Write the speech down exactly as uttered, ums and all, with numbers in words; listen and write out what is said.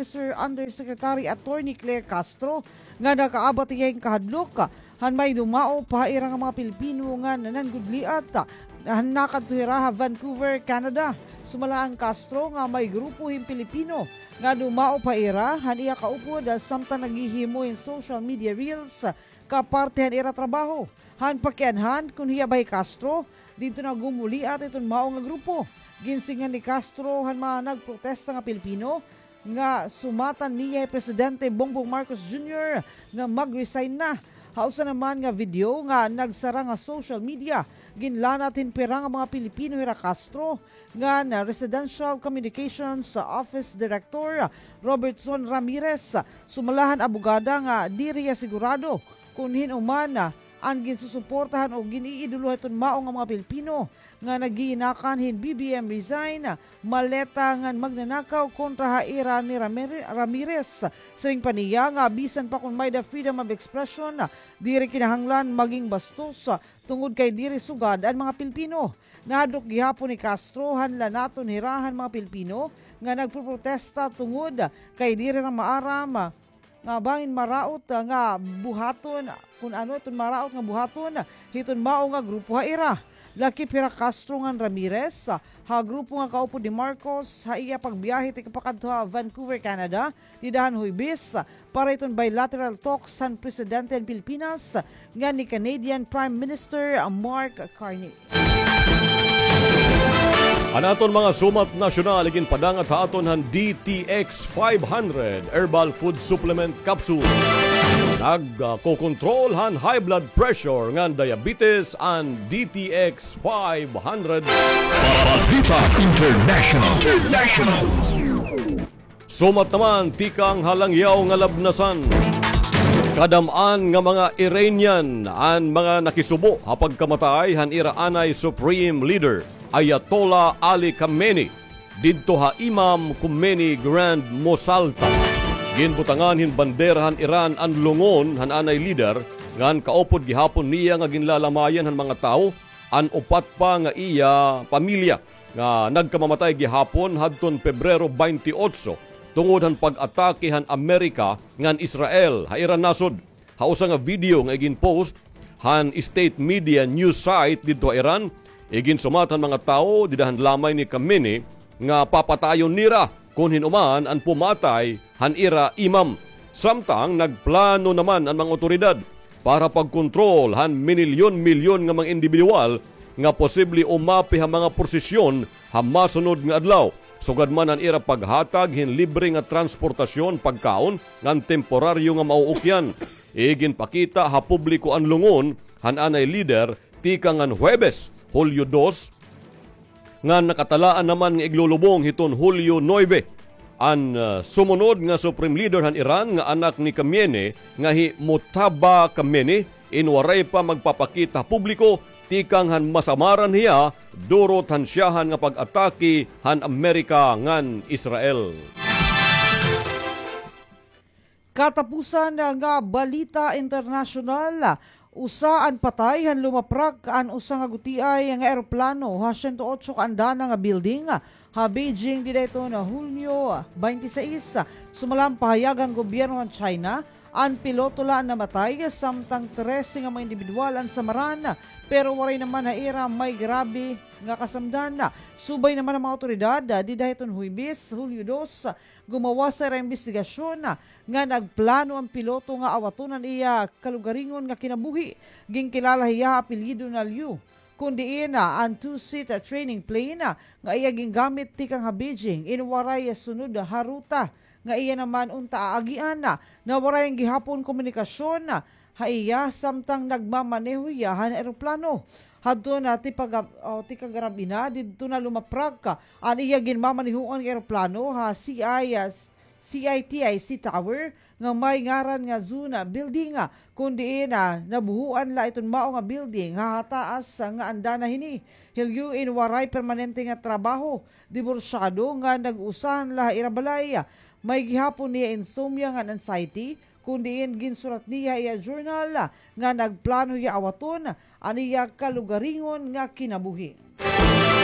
Sir Undersecretary Attorney Claire Castro nga nakaabat hiya hin kahadlok han may dumao pa ha ira nga mga Pilipino nga nananggudliat han nakadto hira ha Vancouver, Canada. Sumala an Castro nga may grupo hin Pilipino nga dumao pa ira han iya kaupod samtang naghihimo hin social media reels kaparte han ira trabaho. Han pakianhan kon hiya ba hi Castro, didto na gumuliat iton mao nga grupo. Ginsingan ni Castro han mga nagprotesta nga Pilipino nga sumatan niya hi Presidente Bongbong Marcos Junior nga mag-resign na. Ha usa naman nga video nga nagsara nga social media, ginlanat hin pira nga mga Pilipino hira Castro ngan Residential Communications Office Director Robertson Ramirez. Sumala han abogada nga diri hiya sigurado kon hin-o man an ginsusuportahan o gin-iidolo hiton mao nga mga Pilipino nga naggiinakan hin B B M resign, maleta ngan magnanakaw kontra ha ira ni Ramir-, Ramirez. Siring pa niya nga bisan pa kon may-ada freedom of expression, diri kinahanglan maging bastos tungod kay diri sugad an mga Pilipino. Nahadlok gihapon ni Castro han lanaton hira han mga Pilipino nga nagpoprotesta tungod kay diri hira maaram nga bangin maraot nga buhaton, kon ano iton maraot nga buhaton hiton mao nga grupo ha ira. Lakip hira Castro ngan Ramirez ha grupo nga kaupod ni Marcos ha iya pagbiyahe tikapakadto ha Vancouver, Canada, dida han Huwebes, para hiton bilateral talks han presidente han Pilipinas ngan ni Canadian Prime Minister Mark Carney. An aton mga sumat nasyonal iginpadangat ha aton han D T X five hundred Herbal Food Supplement Capsule. Nagkokontrol han high blood pressure ngan diabetes an D T X five hundred. Balita International. International. Sumat naman tikang ha langyaw nga labnasan. Kadam-an nga mga Iranian an mga nakisubo ha pagkamatay han ira anay Supreme Leader Ayatollah Ali Khamenei didto ha Imam Khomeini Grand Mosque. Ginbutangan hin bandera han Iran an lungon han anay lider, ngan kaupod gihapon niya nga ginlalamayan han mga tawo an upat pa nga iya pamilya nga nagkamamatay gihapon hadton Pebrero twenty-eight tungod han pag-atake han Amerika ngan Israel ha ira nasod. Ha usa nga video nga iginpost han state media news site didto ha Iran, iginsumat han mga tawo dida han lamay ni Khamenei nga papatayon nira kon hin-o man an pumatay han ira imam. Samtang nagplano naman an mga awtoridad para pagkontrol han minilyon-milyon nga mga indibidwal nga posible umapi ha mga prosesyon ha masunod nga adlaw, sugad man an ira paghatag hin libre nga transportasyon, pagkaon, ngan temporaryo nga mauukyan. Iginpakita ha publiko an lungon han anay lider tikang han Huwebes, Hulyo dos, ngan nakatalaan naman nga iglulubong hiton Hulyo nuebe. An, ah, sumunod nga Supreme Leader han Iran nga anak ni Khamenei nga hi Mojtaba Khamenei in waray pa magpapakita ha publiko tikang han masamaran hiya durot han syahan nga pag-atake han Amerika ngan Israel. Katapusan nga balita internasyonal, usa an patay han lumaprak an usa nga gutiay nga eroplano ha siyento otso ka andana nga building ha Beijing dida hiton Hunyo twenty-six. Sumala han pahayag han gobyerno han China, an piloto la an namatay, samtang trese nga mga indibidwal an samaran, pero waray naman ha ira may grabe nga kasamdan. Subay naman han mga awtoridad, dida hiton Huwebes, Hulyo dos, gumawas sa ira imbestigasyon nga nagplano an piloto nga awaton an iya kalugaringon nga kinabuhi. Ginkilala hiya ha apelyido na Liu, kon diin an two-seat training plane nga iya gingamit tikang ha Beijing in waray sunod ha ruta nga iya naman unta aagian. Nawaray gihapon komunikasyon ha iya samtang nagmamaneho hiya han eroplano. Hadto na tipaga-, o, tikagarab-i na, didto na lumaprak an iya ginmamanehoan nga eroplano ha C I, ah, C I T I C Tower nga may ngaran nga Zuna Building, kon diin, ah, nabuhuan la iton mao nga building ha, ha taas nga andana hini. Hilyo in waray permanente nga trabaho, diborsyado nga nag-usahan la ha ira balay. May gihapon niya insomnia ngan anxiety, kon diin ginsurat niya ha iya journal nga nagplano hiya awaton an iya kalugaringon nga kinabuhi.